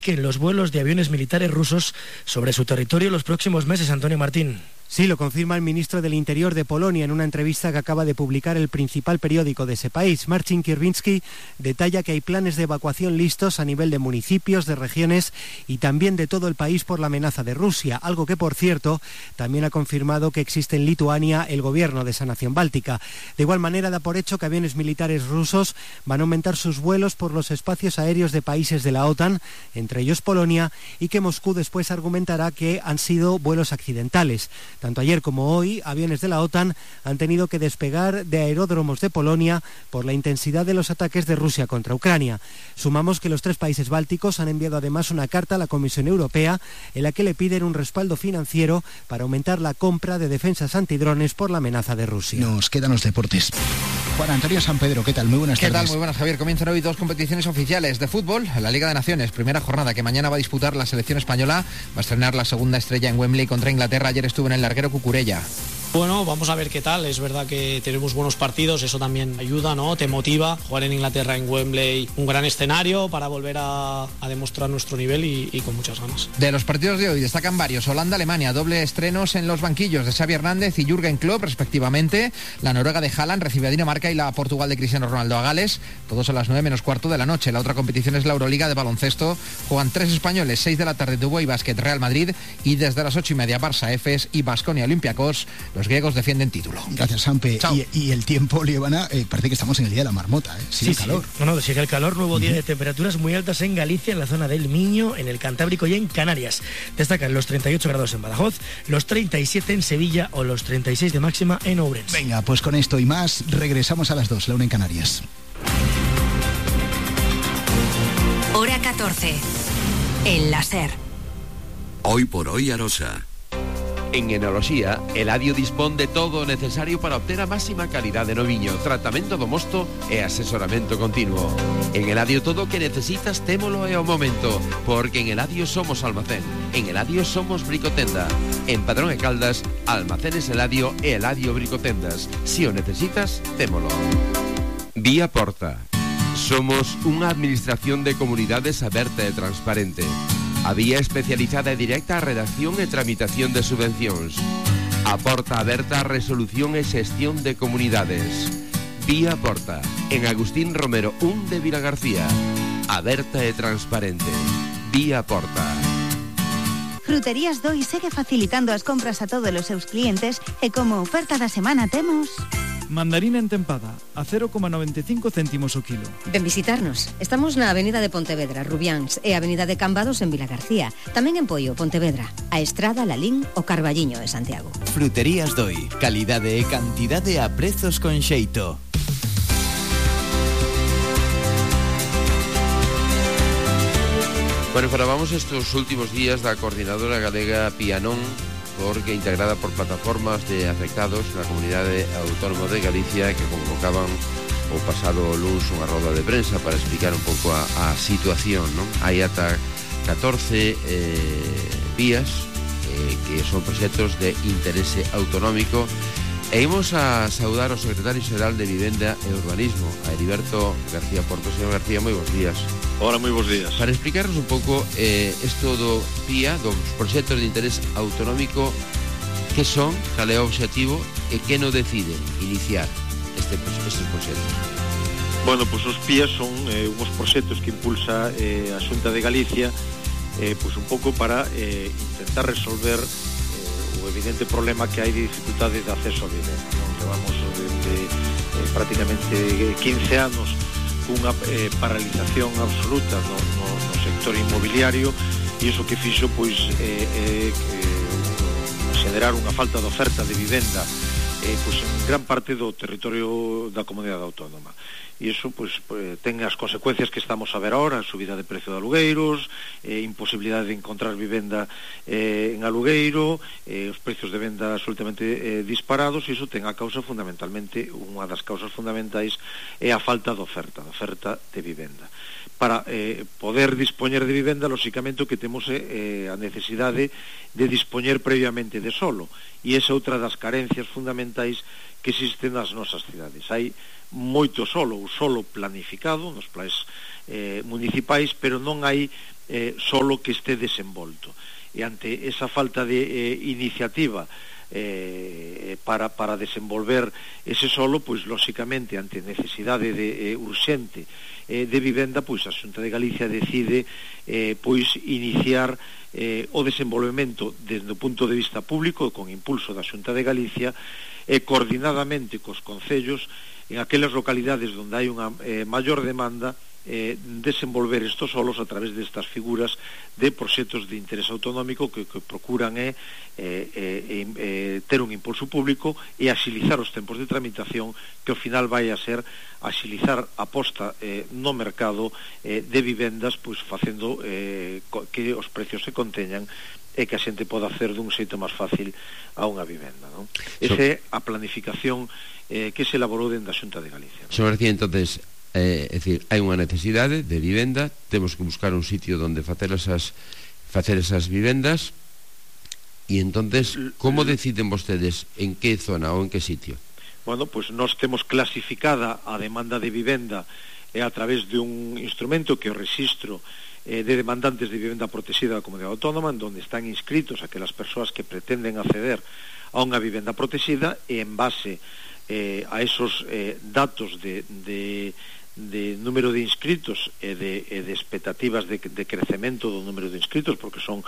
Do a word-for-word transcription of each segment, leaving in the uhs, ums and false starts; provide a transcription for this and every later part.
que en los vuelos de aviones militares rusos sobre su territorio en los próximos meses. Antonio Martín. Sí, lo confirma el ministro del Interior de Polonia en una entrevista que acaba de publicar el principal periódico de ese país. Marcin Kierwiński detalla que hay planes de evacuación listos a nivel de municipios, de regiones y también de todo el país por la amenaza de Rusia, algo que, por cierto, también ha confirmado que existe en Lituania el gobierno de esa nación báltica. De igual manera, da por hecho que aviones militares rusos van a aumentar sus vuelos por los espacios aéreos de países de la OTAN, entre ellos Polonia, y que Moscú después argumentará que han sido vuelos accidentales. Tanto ayer como hoy, aviones de la OTAN han tenido que despegar de aeródromos de Polonia por la intensidad de los ataques de Rusia contra Ucrania. Sumamos que los tres países bálticos han enviado además una carta a la Comisión Europea en la que le piden un respaldo financiero para aumentar la compra de defensas antidrones por la amenaza de Rusia. Nos quedan los deportes. Juan Antonio San Pedro, ¿qué tal? Muy buenas tardes. ¿Qué tal? Muy buenas, Javier. Comienzan hoy dos competiciones oficiales de fútbol. La Liga de Naciones, primera jornada que mañana va a disputar la selección española. Va a estrenar la segunda estrella en Wembley contra Inglaterra. Ayer estuvo en el larguero Cucurella. Bueno, vamos a ver qué tal. Es verdad que tenemos buenos partidos, eso también ayuda, ¿no? Te motiva. Jugar en Inglaterra, en Wembley, un gran escenario para volver a, a demostrar nuestro nivel y, y con muchas ganas. De los partidos de hoy destacan varios. Holanda-Alemania, doble estrenos en los banquillos de Xavi Hernández y Jürgen Klopp, respectivamente. La Noruega de Haaland recibe a Dinamarca y la Portugal de Cristiano Ronaldo a Gales. Todos a las nueve menos cuarto de la noche. La otra competición es la Euroliga de baloncesto. Juegan tres españoles, seis de la tarde, Dubái Basket, Real Madrid, y desde las ocho y media Barça, Efes y Baskonia Olympiacos. Los griegos defienden título. Gracias, Sampe. Y, y el tiempo, Liébana, eh, parece que estamos en el día de la marmota, ¿eh? Sigue sí, el calor. Sí. No, no, sigue el calor, nuevo día uh-huh. de temperaturas muy altas en Galicia, en la zona del Miño, en el Cantábrico y en Canarias. Destacan los treinta y ocho grados en Badajoz, los treinta y siete en Sevilla o los treinta y seis de máxima en Ourense. Venga, pues con esto y más, regresamos a las dos, la una en Canarias. Hora catorce. El láser. Hoy por hoy Arosa. En Enoloxía, Eladio dispón de todo o necesario para obter a máxima calidade no viño, tratamento do mosto e asesoramento continuo. En Eladio todo o que necesitas témolo e ao momento, porque en Eladio somos almacén, en Eladio somos bricotenda. En Padrón e Caldas, Almacenes Eladio e Eladio Bricotendas. Si o necesitas, témolo. Vía Porta. Somos unha administración de comunidades aberta e transparente. A vía especializada e directa a redacción e tramitación de subvencións. A porta aberta a resolución e xestión de comunidades. Vía Porta, en Agustín Romero un de Vilagarcía. Aberta e transparente. Vía Porta. Fruterías Doi segue facilitando as compras a todos os seus clientes e como oferta da semana temos... Mandarina entempada, a cero coma noventa e cinco céntimos o kilo. Ven visitarnos. Estamos na Avenida de Pontevedra, Rubiáns, e Avenida de Cambados en Vilagarcía. Tamén en Poio, Pontevedra. A Estrada, Lalín o Carballiño de Santiago. Fruterías Doi. Calidade e cantidade a prezos con xeito. Bueno, falábamos estos últimos días da coordinadora galega Pianón, porque integrada por plataformas de afectados na comunidade autónoma de Galicia que convocaban o pasado luns unha roda de prensa para explicar un pouco a, a situación, non? Hai ata catorce eh, vías eh, que son proxectos de interese autonómico e imos a saudar o secretario xeral de Vivenda e Urbanismo, a Heriberto García Porto. Señor García, moi bons días. Hola, moi bons días. Para explicarnos un pouco eh, isto do P I A, dos proxectos de interés autonómico, que son, cal é o obxectivo e que non deciden iniciar este, estes proxectos. Bueno, pois os P I A son eh, uns proxectos que impulsa eh, a Xunta de Galicia eh, pois un pouco para eh, intentar resolver eh, o evidente problema que hai de dificultade de acceso a vivenda. Non levamos desde eh, prácticamente quince anos unha eh, paralización absoluta no, no, no sector inmobiliario e iso que fixo pois eh, eh, eh, xenerar unha falta de oferta de vivenda eh, pois en gran parte do territorio da comunidade autónoma e iso pois, pois ten as consecuencias que estamos a ver ahora, a subida de precio de alugueiros, eh, imposibilidade de encontrar vivenda eh, en alugueiro, eh, os precios de venda absolutamente eh, disparados e iso ten a causa fundamentalmente, unha das causas fundamentais é a falta de oferta, de oferta de vivenda. Para eh, poder dispoñer de vivenda, lóxicamente o que temos é eh, a necesidade de dispoñer previamente de solo e esa é outra das carencias fundamentais que existen nas nosas cidades. Hai moito solo, o solo planificado nos plans eh, municipais, pero non hai eh, solo que este desenvolto. E ante esa falta de eh, iniciativa eh, para, para desenvolver ese solo, pois lóxicamente ante necesidade de, eh, urxente eh, de vivenda, pois a Xunta de Galicia decide eh, pois iniciar eh, o desenvolvemento desde o punto de vista público con impulso da Xunta de Galicia e eh, coordinadamente cos concellos en aquelas localidades onde hai unha eh, maior demanda, Eh, desenvolver estos solos a través destas figuras de proxectos de interés autonómico que, que procuran é eh, eh, eh, ter un impulso público e axilizar os tempos de tramitación, que ao final vai a ser axilizar a posta eh, no mercado eh, de vivendas, pois facendo eh, que os precios se conteñan e que a xente poda hacer dun xeito máis fácil a unha vivenda, non? Esa é a planificación eh, que se elaborou dentro da Xunta de Galicia. Sobre ti, entonces, Eh, é dicir, hai unha necesidade de vivenda, temos que buscar un sitio onde facer esas facer esas vivendas, e entonces como deciden vostedes en que zona ou en que sitio? Bueno, pois pues nós temos clasificada a demanda de vivenda eh, a través de un instrumento que é o registro eh, de demandantes de vivenda protexida da Comunidade Autónoma, onde están inscritos aquelas persoas que pretenden acceder a unha vivenda protexida, e en base eh, a esos eh, datos de, de de número de inscritos e de, e de expectativas de, de crecemento do número de inscritos, porque son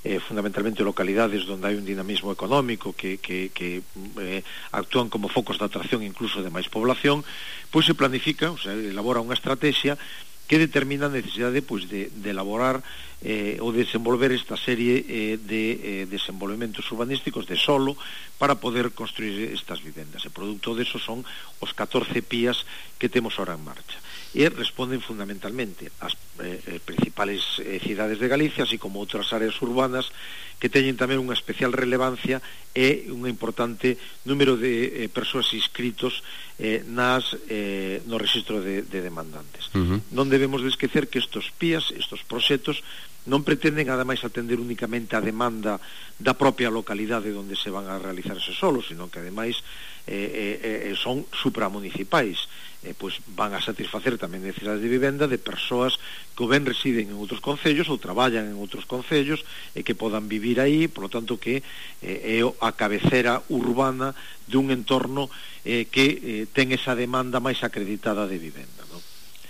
eh, fundamentalmente localidades onde hai un dinamismo económico que, que, que eh, actúan como focos de atracción incluso de máis población, pois se planifica, o sea, elabora unha estrategia que determina a necesidade pois, de, de elaborar eh, ou desenvolver esta serie eh, de eh, desenvolvementos urbanísticos de solo para poder construir estas vivendas. E producto deso son os catorce P I As que temos ahora en marcha. E responden fundamentalmente ás eh, principales eh, cidades de Galicia, así como outras áreas urbanas que teñen tamén unha especial relevancia e un importante número de eh, persoas inscritos eh, nas, eh, no registro de, de demandantes. Uh-huh. Non debemos de esquecer que estos P I As, estos proxectos, non pretenden ademais atender únicamente a demanda da propia localidade onde se van a realizar esos solos, sino que ademais eh, eh, son supramunicipais, eh, pois van a satisfacer tamén necesidades de vivenda de persoas que ben residen en outros concellos ou traballan en outros concellos e que podan vivir aí, por lo tanto que eh, é a cabecera urbana dun entorno eh, que eh, ten esa demanda máis acreditada de vivenda, non?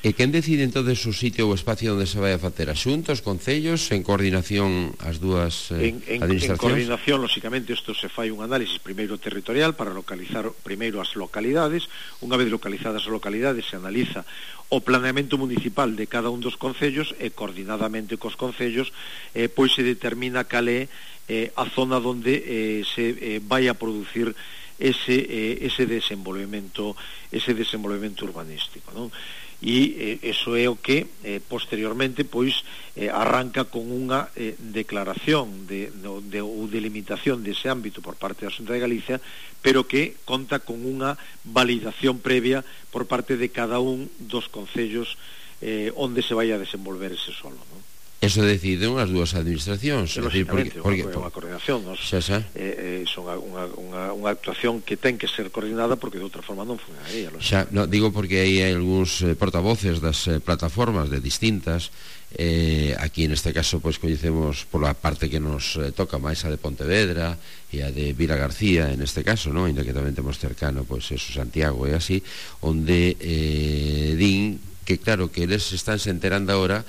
E quen decide entonces o sitio ou espacio onde se vai a facer? A Xunta, os concellos, en coordinación as dúas eh, en, en, administracións? En coordinación, lóxicamente, isto se fai un análisis primeiro territorial para localizar primeiro as localidades. Unha vez localizadas as localidades, se analiza o planeamento municipal de cada un dos concellos e coordinadamente cos concellos eh, pois se determina cal é eh, a zona onde eh, se eh, vai a producir ese, eh, ese desenvolvemento ese desenvolvemento urbanístico, non? E eh, eso é o que eh, posteriormente pois eh, arranca con unha eh, declaración de, de, de, ou delimitación dese ámbito por parte da Xunta de Galicia, pero que conta con unha validación previa por parte de cada un dos concellos eh, onde se vai a desenvolver ese solo, non? Eso deciden as dúas administracións, é dicir, porque, porque, é unha coordinación, nos, xa, xa. Eh, eh, son unha, unha, unha actuación que ten que ser coordinada porque de outra forma non funcionaría. Xa, no, digo porque hai algúns eh, portavoces das eh, plataformas de distintas, eh, aquí en este caso pois coñecemos pola parte que nos eh, toca máis a de Pontevedra e a de Vila García en este caso, non? Ainda que tamén temos cercano pois eso, Santiago e así, onde eh, din que claro que eles están se enterando agora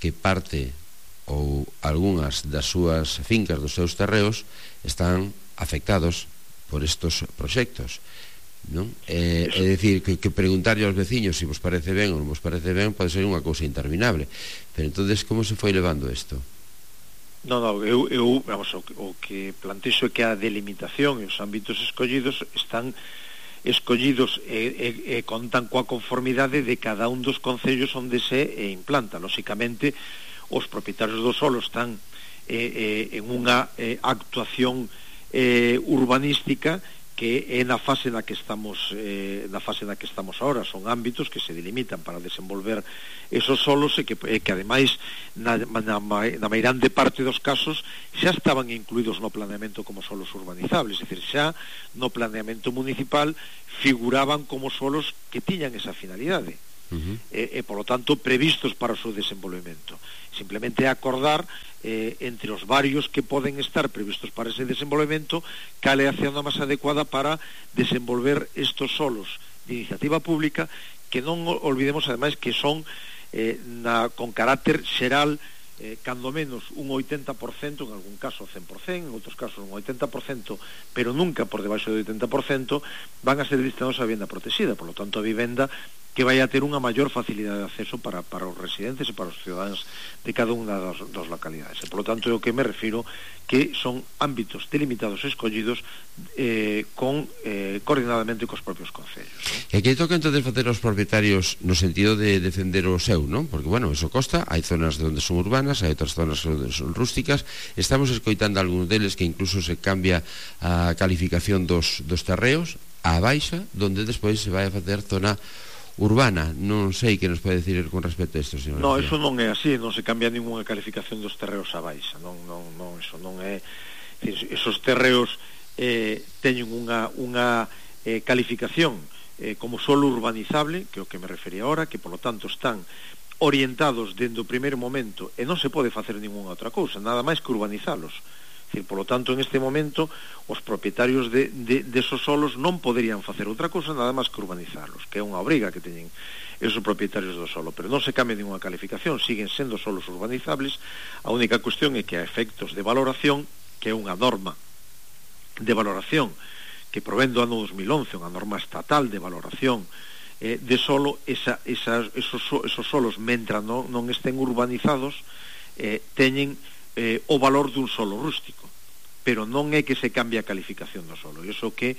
que parte ou algunhas das súas fincas, dos seus terreos, están afectados por estos proxectos, non? É, é dicir, que, que preguntarlle aos veciños se vos parece ben ou non vos parece ben pode ser unha cousa interminable, pero entonces como se foi levando isto? Non, non, eu, eu vamos, o, o que plantexo é que a delimitación e os ámbitos escollidos están escollidos e, e, e contan coa conformidade de cada un dos concellos onde se eh, implanta. Lóxicamente, os propietarios do solo están eh, eh, en unha eh, actuación eh, urbanística que é na fase na que estamos eh, na fase na que estamos ahora. Son ámbitos que se delimitan para desenvolver esos solos e que, eh, que ademais na, na, na meirande parte dos casos xa estaban incluídos no planeamento como solos urbanizables, é dicir, xa no planeamento municipal figuraban como solos que tiñan esa finalidade. uh-huh. e, e polo tanto previstos para o seu desenvolvemento. Simplemente acordar eh, entre os varios que poden estar previstos para ese desenvolvemento cal é a zona máis adecuada para desenvolver estos solos de iniciativa pública, que non olvidemos ademais que son eh, na, con carácter xeral, eh, cando menos un oitenta por cento, en algún caso cen por cento, en outros casos un oitenta por cento, pero nunca por debaixo do oitenta por cento, van a ser destinados a vivenda protegida. Por lo tanto, a vivenda que vai a ter unha maior facilidade de acceso para, para os residentes e para os ciudadanos de cada unha das, das localidades. E, por lo tanto, é o que me refiro que son ámbitos delimitados e escollidos eh, con, eh, coordinadamente cos propios concellos, ¿no? E que toca entonces facer aos propietarios no sentido de defender o seu, non? Porque, bueno, eso costa, hai zonas onde son urbanas, hai outras zonas onde son rústicas, estamos escoitando algúns deles que incluso se cambia a calificación dos, dos terreos á baixa, donde despois se vai a facer zona urbana. Non sei que nos pode decir con respecto a isto, señor. No, eso non é así, non se cambia ninguna calificación dos terreos a baixa, non, non, non, eso non é, esos terreos eh, teñen unha, unha eh, calificación eh, como solo urbanizable, que é o que me refería ahora, que polo tanto están orientados dende o primeiro momento e non se pode facer ninguna outra cousa, nada máis que urbanizalos. Por lo tanto, en este momento, os propietarios de, de, de esos solos non poderían facer outra cousa nada máis que urbanizarlos, que é unha obriga que teñen esos propietarios do solo, pero non se cambia ninguna calificación, siguen sendo solos urbanizables. A única cuestión é que a efectos de valoración, que é unha norma de valoración que provén do ano dos mil once, unha norma estatal de valoración eh, de solo, esa, esa, esos, esos solos, mentre non, non estén urbanizados, eh, teñen Eh, o valor dun solo rústico, pero non é que se cambie a calificación do solo. Iso que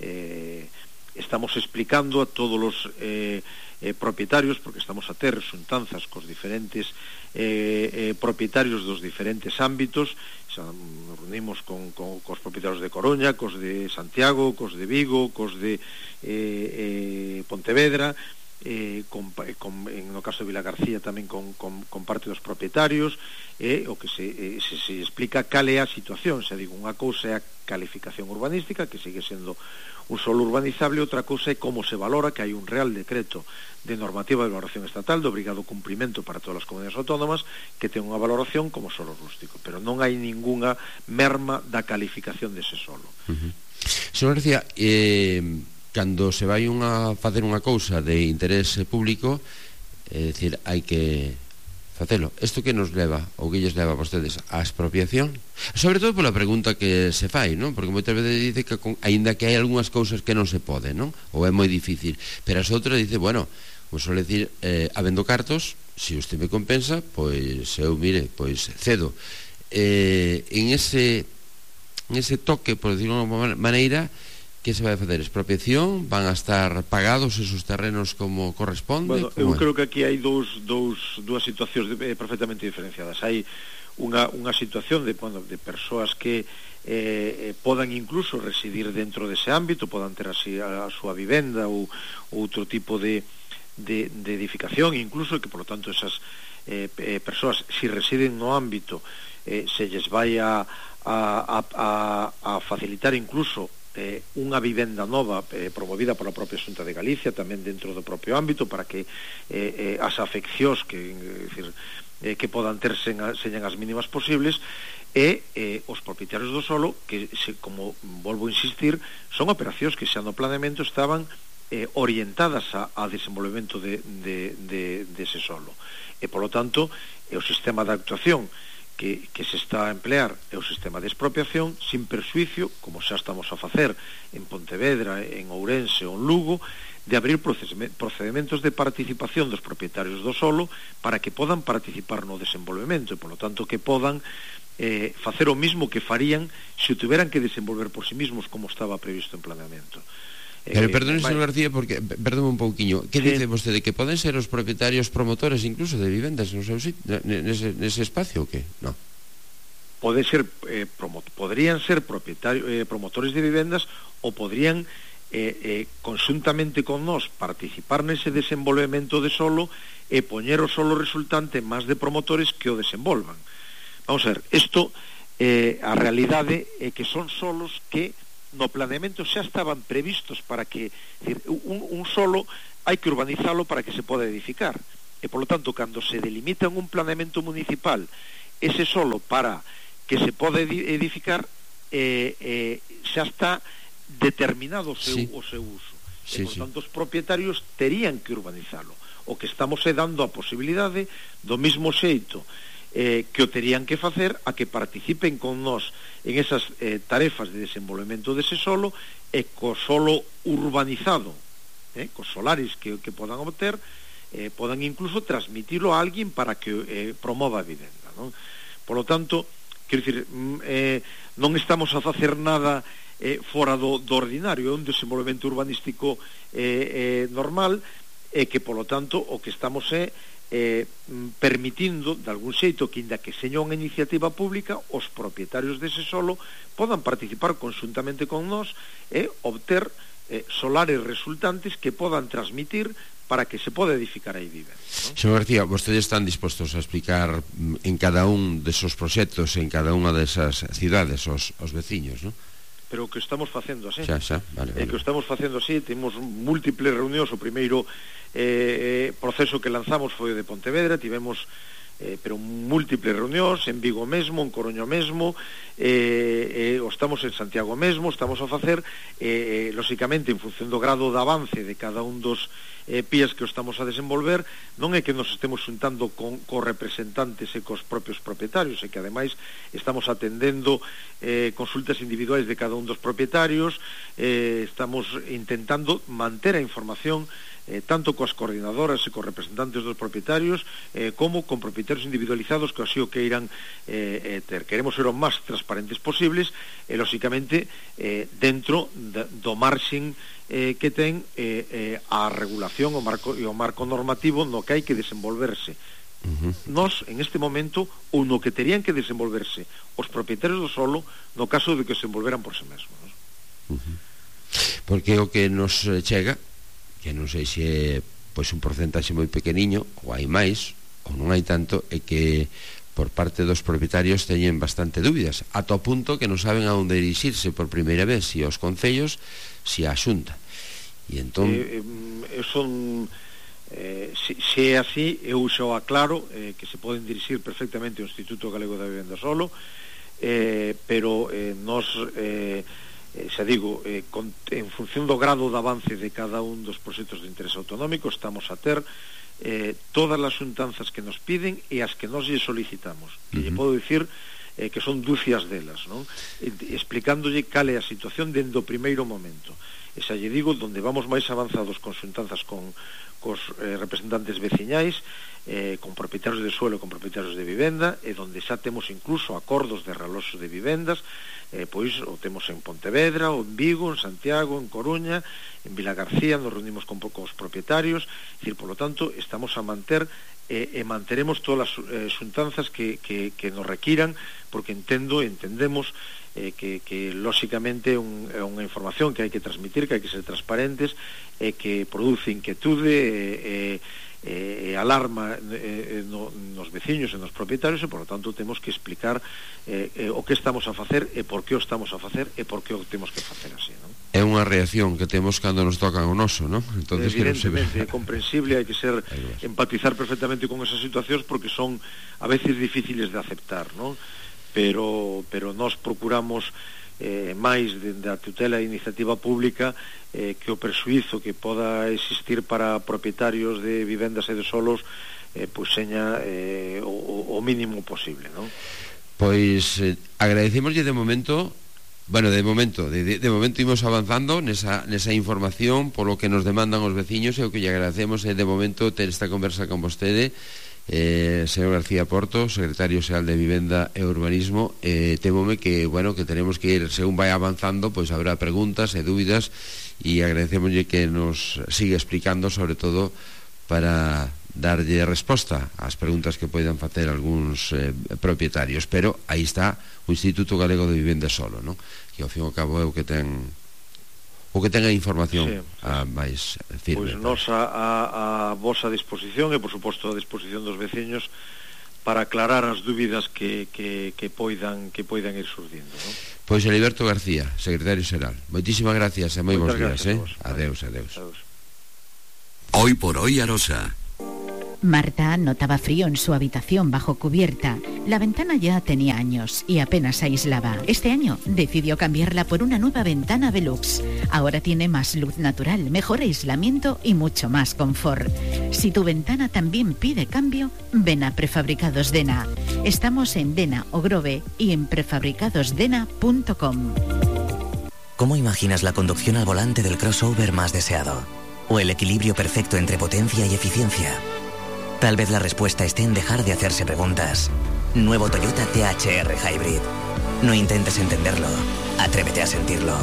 eh, estamos explicando a todos os eh, eh, propietarios, porque estamos a ter xuntanzas cos diferentes eh, eh, propietarios dos diferentes ámbitos. Nos reunimos con, con, cos propietarios de Coruña, cos de Santiago, cos de Vigo, cos de eh, eh, Pontevedra, Eh, con, con, en no caso de Vilagarcía tamén con, con, con parte dos propietarios, e eh, o que se, eh, se, se explica cal é a situación. Se digo, unha cousa é a calificación urbanística, que sigue sendo un solo urbanizable, outra cousa é como se valora, que hai un real decreto de normativa de valoración estatal de obrigado cumprimento para todas as comunidades autónomas, que ten unha valoración como solo rústico, pero non hai ningunha merma da calificación dese solo. Uh-huh. Señor García, eh... cando se vai unha facer unha cousa de interés público, é dicir, hai que facelo. Isto que nos leva, ou que lles leva a vostedes, a expropiación? Sobre todo pola pregunta que se fai, non? Porque moitas veces dice que aínda que hai algunhas cousas que non se pode, non? Ou é moi difícil, pero as outras dice, bueno, como suele decir, eh, habendo cartos, se usted me compensa, pois eu, mire, pois cedo. Eh, en ese en ese toque, por decirlo de unha maneira, que se vai a facer? Expropiación? Van a estar pagados esos terrenos como corresponde? Bueno, como eu é? creo que aquí hai dous, dous, dúas situacións de, eh, perfectamente diferenciadas. Hai unha, unha situación de, bueno, de persoas que eh, podan incluso residir dentro dese ámbito, podan ter así a, a súa vivenda ou outro tipo de, de, de edificación, incluso que, por lo tanto, esas eh, eh, persoas, si residen no ámbito, eh, se lles vai a, a, a, a facilitar incluso Eh, unha vivenda nova eh, promovida pola propia Xunta de Galicia, tamén dentro do propio ámbito, para que eh, eh, as afeccións que, eh, decir, eh, que podan ter sen, señan as mínimas posibles, e eh, os propietarios do solo, que se, como volvo a insistir, son operacións que xa no planeamento estaban eh, orientadas a, a desenvolvemento de, de, de, de ese solo, e polo tanto eh, o sistema de actuación Que, que se está a emplear é o sistema de expropiación sin persuicio, como xa estamos a facer en Pontevedra, en Ourense ou en Lugo, de abrir procedimentos de participación dos propietarios do solo para que podan participar no desenvolvemento e, polo tanto, que podan eh, facer o mismo que farían se o tuveran que desenvolver por sí mismos como estaba previsto en planeamento. Pero perdón, señor García, porque, perdón un pouquiño, que sí. dice vostede, que poden ser os propietarios promotores incluso de vivendas no seu sitio, nese, nese espacio ou que? No. Pode ser, eh, promo, podrían ser propietarios, eh, promotores de vivendas, ou podrían eh, eh, conjuntamente con nós participar nese desenvolvemento de solo e poñer o solo resultante máis de promotores que o desenvolvan. Vamos a ver, isto, eh, a realidade é que son solos que no planeamento xa estaban previstos para que, decir, un, un solo hai que urbanizalo para que se poda edificar. E, polo tanto, cando se delimita en un planeamento municipal ese solo para que se poda edificar, eh, eh, xa está determinado o seu, sí. o seu uso. Sí, e, por sí. tanto, os propietarios terían que urbanizalo. O que estamos é dando a posibilidade, do mismo xeito eh, que o terían que facer, a que participen con nós en esas eh, tarefas de desenvolvemento dese solo, e co solo urbanizado, eh, cos solares que, que podan obter, eh, podan incluso transmitilo a alguén para que eh, promova a vivenda, non? Por lo tanto, quero dicir, eh, non estamos a facer nada eh, fora do, do ordinario, é un desenvolvemento urbanístico eh, eh, normal, e que, polo tanto, o que estamos é eh, permitindo, de algún xeito, que inda que seña unha iniciativa pública, os propietarios dese solo podan participar conxuntamente con nós e obter eh, solares resultantes que podan transmitir para que se poda edificar aí vivenda, ¿no? Señor García, vostedes están dispostos a explicar en cada un desos proxectos, en cada unha desas cidades, os, os veciños, ¿no? Pero o que estamos facendo así, xa, xa, vale, vale. É que o estamos facendo así, temos múltiples reunións. O primeiro eh, proceso que lanzamos foi o de Pontevedra, tivemos eh, pero múltiples reunións en Vigo mesmo, en Coruña mesmo, eh, eh, o estamos en Santiago mesmo, estamos a facer eh, lóxicamente en función do grado de avance de cada un dos eh, P I As que o estamos a desenvolver. Non é que nos estemos xuntando con, con representantes e cos propios propietarios, é que ademais estamos atendendo eh, consultas individuais de cada un dos propietarios, eh, estamos intentando manter a información Eh, tanto coas coordinadoras e cos representantes dos propietarios, eh, como con propietarios individualizados que así o que irán eh, eh, ter. Queremos ser o máis transparentes posibles e, lóxicamente, eh, dentro de, do marxen eh, que ten eh, eh, a regulación o marco, e o marco normativo no que hai que desenvolverse. Uh-huh. Nos, en este momento, ou no que terían que desenvolverse os propietarios do solo no caso de que se envolveran por si mesmos. Uh-huh. Porque o que nos chega, que non sei se é pois un porcentaxe moi pequeniño ou hai máis ou non hai tanto, é que por parte dos propietarios teñen bastante dúbidas, ata o punto que non saben a onde dirixirse por primeira vez, si aos concellos, si á Xunta. E entón eh, eh, son eh, se, se é así, eu xa o aclaro, eh, que se poden dirixir perfectamente ao Instituto Galego da Vivenda Solo, eh, pero eh, nos eh, Eh, xa digo, eh, con, en función do grado de avance de cada un dos proxectos de interés autonómico, estamos a ter eh, todas as xuntanzas que nos piden e as que nos lle solicitamos. Uh-huh. E lle podo dicir eh, que son dúcias delas, non? E, explicándolle cal é a situación dende o primeiro momento. E xa lle digo, donde vamos máis avanzados con xuntanzas con cos eh, representantes veciñais, eh, con propietarios de suelo e con propietarios de vivenda, e donde xa temos incluso acordos de realoxo de vivendas, eh, pois o temos en Pontevedra, ou en Vigo, en Santiago, en Coruña, en Vilagarcía, nos reunimos con poucos propietarios, é dicir, por lo tanto, estamos a manter e, e manteremos todas as eh, xuntanzas que, que, que nos requiran, porque entendo e entendemos eh, que, que lóxicamente é un, é unha información que hai que transmitir, que hai que ser transparentes, e que produce inquietude e, e, e alarma e, no, nos veciños e nos propietarios, e por lo tanto temos que explicar eh, eh, o que estamos a facer e por que o estamos a facer e por que o temos que facer así, non? É unha reacción que temos cando nos tocan o noso, non? Entonces, evidentemente, é comprensible, hai que ser empatizar perfectamente con esas situacións porque son a veces difíciles de aceptar, non? Pero, pero nós procuramos eh, máis da tutela e iniciativa pública eh, que o persuízo que poda existir para propietarios de vivendas e de solos eh, pois seña eh, o, o mínimo posible, non? Pois eh, agradecemoslle de momento, bueno, de momento de, de, de momento imos avanzando nesa, nesa información polo que nos demandan os veciños, e o que lle agradecemos é de momento ter esta conversa con vostede, Eh, señor García Porto, secretario xeral de Vivenda e Urbanismo. eh, temome que, bueno, que tenemos que ir, según vai avanzando, pois habrá preguntas e dúbidas, e agradecemoslle que nos siga explicando, sobre todo para darlle resposta ás preguntas que poidan facer algúns eh, propietarios. Pero aí está o Instituto Galego de Vivenda Solo, non? Que ao fin e ao cabo é o que ten o que tenga información, sí, sí, a máis firme. Pois nos a, a, a vosa disposición e, por suposto, a disposición dos veciños para aclarar as dúbidas que, que, que, poidan, que poidan ir surdindo, non? Pois Heriberto García, secretario xeral, moitísimas gracias e moi bons días, eh? Adeus, adeus. Adeus. Hoy por hoy Arosa. Marta notaba frío en su habitación bajo cubierta. La ventana ya tenía años y apenas aislaba. Este año decidió cambiarla por una nueva ventana Velux. Ahora tiene más luz natural, mejor aislamiento y mucho más confort. Si tu ventana también pide cambio, ven a Prefabricados Dena. Estamos en Dena o Grove y en prefabricados dena punto com. ¿Cómo imaginas la conducción al volante del crossover más deseado? ¿O el equilibrio perfecto entre potencia y eficiencia? Tal vez la respuesta esté en dejar de hacerse preguntas. Nuevo Toyota T H R Hybrid. No intentes entenderlo, atrévete a sentirlo.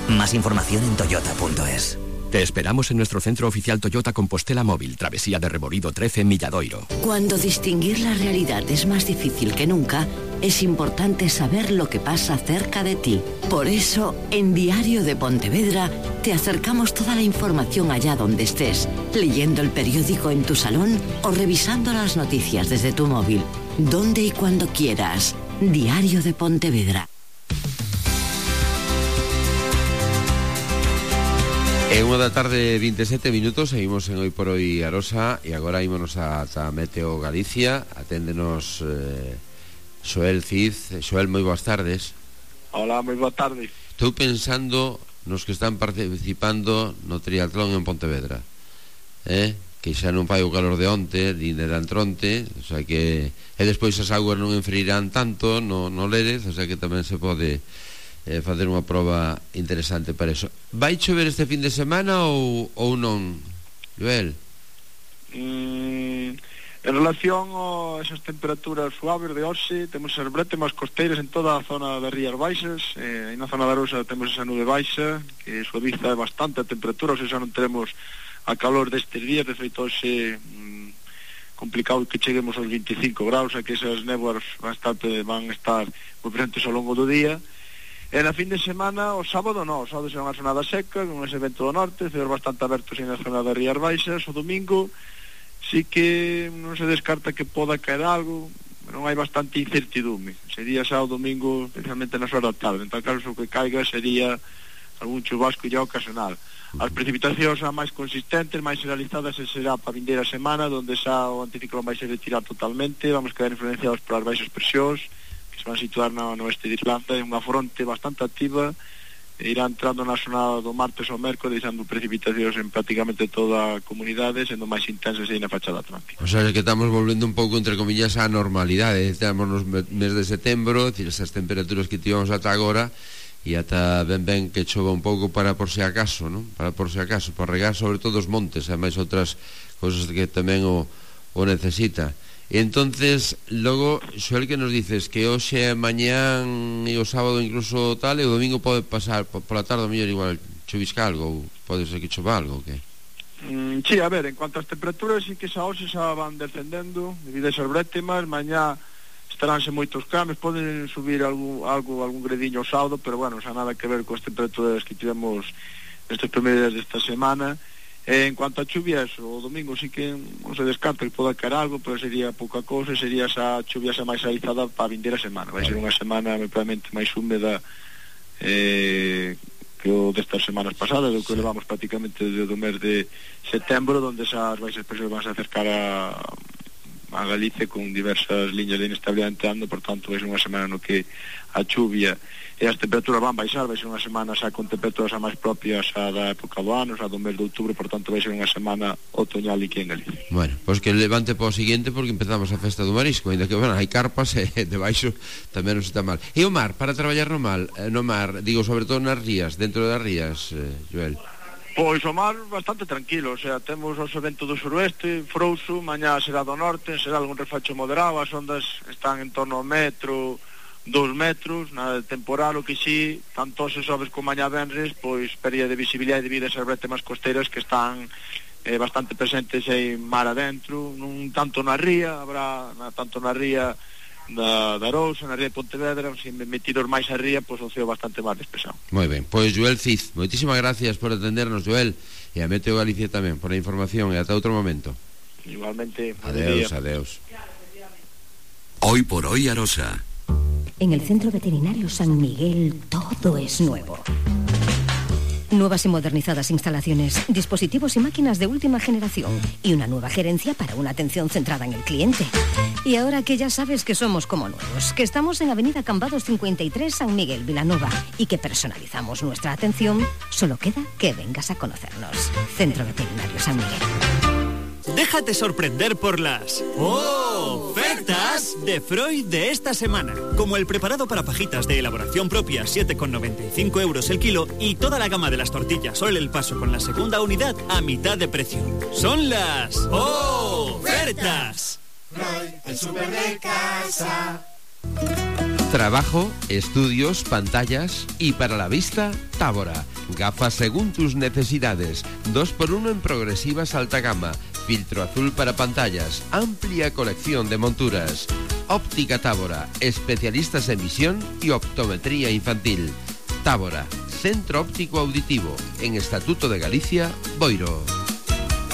Más información en toyota punto es. Te esperamos en nuestro centro oficial Toyota Compostela Móvil, Travesía de Reborido trece, Milladoiro. Cuando distinguir la realidad es más difícil que nunca, es importante saber lo que pasa cerca de ti. Por eso, en Diario de Pontevedra, te acercamos toda la información allá donde estés, leyendo el periódico en tu salón o revisando las noticias desde tu móvil. Donde y cuando quieras. Diario de Pontevedra. É unha da tarde, vinte e sete minutos, seguimos en Hoy por Hoy Arosa e agora ímonos a, a Meteo Galicia. Aténdenos eh, Xoel Cid. Xoel, moi boas tardes. Hola, moi boa tarde. Estou pensando nos que están participando no triatlón en Pontevedra, eh? Que xa non fai o calor de onte, nin de antronte, o sea que e despois as augas non enfriarán tanto no, no Lérez, o sea que tamén se pode eh, facer unha proba interesante para eso. Vai chover este fin de semana ou, ou non, Joel? Mm, en relación a esas temperaturas suaves de hoxe, temos as brétemas costeiras en toda a zona das Rías Baixas, eh, na zona da Arousa temos esa nube baixa que suaviza bastante a temperatura, ou seja, non teremos a calor destes días. De feito hoxe mm, complicado que cheguemos aos vinte e cinco graus, a que esas néboas bastante van a estar moi presentes ao longo do día. E na fin de semana, o sábado non, o sábado será unha jornada seca, con ese vento do norte, ceos bastante abertos en a zona das Rías Baixas. O domingo sí que non se descarta que poda caer algo, non hai bastante incertidume. Sería xa o domingo, especialmente nas horas da tarde. En tal caso, o que caiga sería algún chubasco ya ocasional. As precipitacións xa máis consistentes, máis generalizadas, será para a vindeira semana, onde xa o anticiclón vai se retirar totalmente. Vamos quedar influenciados polas baixas presións que se van a situar no, no oeste de Irlanda. É unha fronte bastante activa, e irá entrando na zona do martes ao mércoles, deixando precipitacións en prácticamente toda a comunidade, sendo máis intensas aí na fachada atlántica. O sea, que estamos volvendo un pouco, entre comillas, á normalidade. Estamos nos mes de setembro, decir, esas temperaturas que tivemos ata agora, e ata ben ben que chova un pouco para por se acaso, non? Para por se acaso, para regar sobre todo os montes, e máis outras cousas que tamén o, o necesita. E entonces, logo, Xoel, que nos dices que hoxe, mañán e o sábado incluso tal, e o domingo pode pasar pola tarde, mellor igual chovisca algo, ou pode ser que chova algo, que? Mm, sí, a ver, en cuanto ás temperaturas, sí que xa hoxe xa van descendendo debido a esas brétemas. Mañá estaránse moitos cambios, poden subir algún, algo, algún grediño ao sábado, pero bueno, xa nada que ver coas temperaturas que tivemos nestes primeiros días desta semana. Eh, en cuanto a chuvias, o domingo sí que non se descarta que poda caer algo, pero sería pouca cousa, sería esa chuvia xa máis realizada para a vindeira semana. Vai ser unha semana probablemente máis húmeda eh, que o destas semanas pasadas, do que sí. Levamos prácticamente desde o mes de setembro, onde esas baixas presións van a acercar a a Galicia con diversas liñas de inestabilidade entrando. Por tanto, vai ser unha semana no que a chuvia e as temperaturas van baixar. Vai ser unha semana xa con temperaturas xa máis propias xa da época do ano, xa do mes de outubro. Por tanto, vai ser unha semana otoñal aquí en Galicia. Bueno, pois pues que levante para o seguinte, porque empezamos a festa do marisco, ainda que, bueno, hai carpas e debaixo tamén non está mal. E o mar, para traballar no mar, no mar, digo, sobre todo nas rías, dentro das rías, eh, Joel? Pois o mar bastante tranquilo, o sea, temos o vento do suroeste, frouxo, mañá será do norte, será algún refacho moderado, as ondas están en torno ao metro, dos metros, nada de temporal, o que sí, tanto se sobes como mañá venres, pois pérdida de visibilidade debido a esas brétemas costeiras que están eh, bastante presentes en mar adentro, non tanto na ría, habrá na, tanto na ría da, da Arousa, na ría de Pontevedra, se metidos máis a ría, pois o ceo bastante máis despesado. Moi ben, pois Joel Cid, moitísimas gracias por atendernos, Joel, e a Meteo Galicia tamén por a información, e ata outro momento. Igualmente. Adeus, adeus. Hoy por Hoy Arosa. En el Centro Veterinario San Miguel todo es nuevo. Nuevas y modernizadas instalaciones, dispositivos y máquinas de última generación y una nueva gerencia para una atención centrada en el cliente. Y ahora que ya sabes que somos como nuevos, que estamos en Avenida Cambados cincuenta y tres, San Miguel, Vilanova, y que personalizamos nuestra atención, solo queda que vengas a conocernos. Centro Veterinario San Miguel. Déjate sorprender por las ofertas de Freud de esta semana. Como el preparado para fajitas de elaboración propia, siete con noventa y cinco euros el kilo, y toda la gama de las tortillas Sol El Paso con la segunda unidad a mitad de precio. Son las ofertas. Freud, el súper de casa. Trabajo, estudios, pantallas y para la vista, Tábora. Gafas según tus necesidades. dos por uno en progresivas alta gama. Filtro azul para pantallas. Amplia colección de monturas. Óptica Tábora. Especialistas en visión y optometría infantil. Tábora. Centro óptico auditivo. En Estatuto de Galicia, Boiro.